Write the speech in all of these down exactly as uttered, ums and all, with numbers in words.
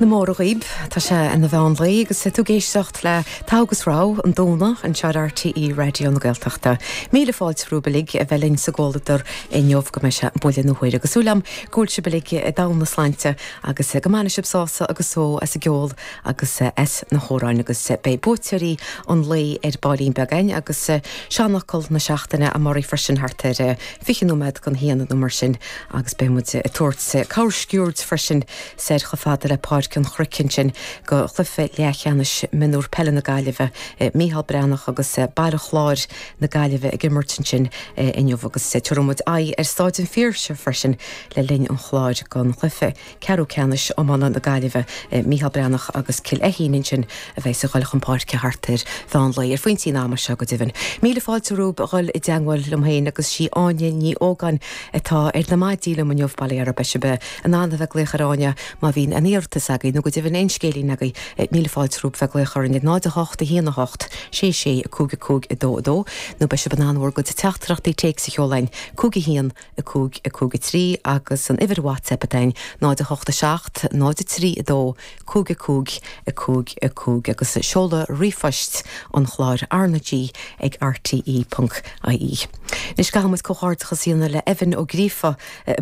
Na móra dhaoib tá sé ina mheán lae agus tú ag éisteacht le Togha agus Rogha an Domhnach anseo ar RTÉ Raidió na Gaeltachta. Míle fáilte romhaibh uilig a bheith linn sa gcomhluadar inniu go mbeidh sé buille na huaire agus súil agam go bhfuil sibh uilig i domhan na sláinte agus go mbainfidh sibh sásamh agus só as an gceol agus as na hamhráin agus beidh buaiteoirí an lae ar baillín beag againn agus seanfhocal na seachtaine amárach freisin thart ar fiche nóiméad don haon nó mar sin agus beidh muid ag tabhairt camscuairt freisin soir chomh fada le Páirc an Chnoic ansin go chluiche leathcheannais mionúr peile na Gaillimhe Mícheál Breathnach agus Baile Chláir na Gaillimhe ag imirt ansin inniu agus tabharfaidh muid aghaidh ar Staid an Phiarsaigh freisin le linn an chláir don chluiche ceathrú ceannais iomána na Gaillimhe Mícheál Breathnach agus Cill Fheichín ansin a bheidh ag dul chun páirce thart ar mheán lae ar phointí an ama seo go deimhin. Míle fáilte romhaibh a dhul i dteagmháil liom féin agus sí Áine Ní Ógáin atá ar na maidí liom inniu bail ó Dhia oraibh beidh sibh in ann a bheith ag glaoch ar Áine má bhíonn aon iarratas agaibh nó go deimhin aon scéilín agaibh míle fáilte romhaibh bheith ag glaoch orainn ag náid a hocht a haon a hocht sé sé a cúig a cúig a dó a dó nó beidh sibh in ann bhur gcuid teachtaireachtaí téacs a sheoladh cúig a haon a cúig a cúig a trí agus an uimhir WhatsApp atá ann náid a hocht a seacht náid a trí a dó cúig a cúig a cúig a cúig agus seoladh ríomhphoist an chláir RnaG ag RTE ponc IE. Anois caithfidh muid comhghairdeachas a dhéanamh le Evan Ó Gríofa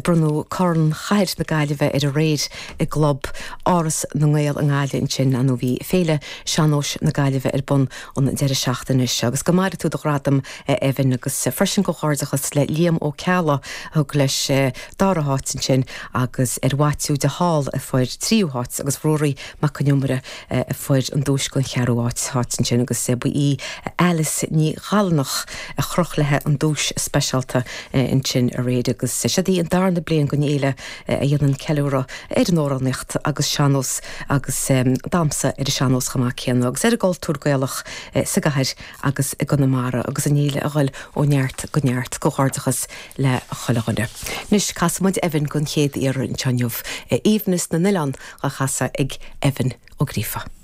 bronnadh Corn Chathair na Gaillimhe air aréir i gClub Áras na nGael i nGaillimh ansin nó bhí Féile Sean-Nóis na Gaillimhe ar bun an deireadh seachtaine seo agus go maire tú do ghradam Evan agus freisin comhghairdeachas le Liam Ó Ceallaigh a thug leis dara háit ansin agus ar Mhaitiú de Hál a fuair tríú háit agus Ruairí Mac an Iomaire a fuair an duais don cheathrú háit háit ansin agus ba í Alice Ní Ghalnach a chroch léi an duais speisialta ansin aréir agus seo í an darna bliain den fhéile a dhéanann ceiliúradh ar an amhránaíocht agus sean-nós agus damhsa ar an sean-nós chomh maith céanna agus ar an gcultúr Gaelach sa gcathair agus i gConamara agus an fhéile ag dul ó neart go neart comhghairdeachas le chuile dhuine. Anois casfaidh muid Evan don chéad iarraidh anseo inniu, Aoibhneas na nOileán á chasadh ag Evan Ó Gríofa.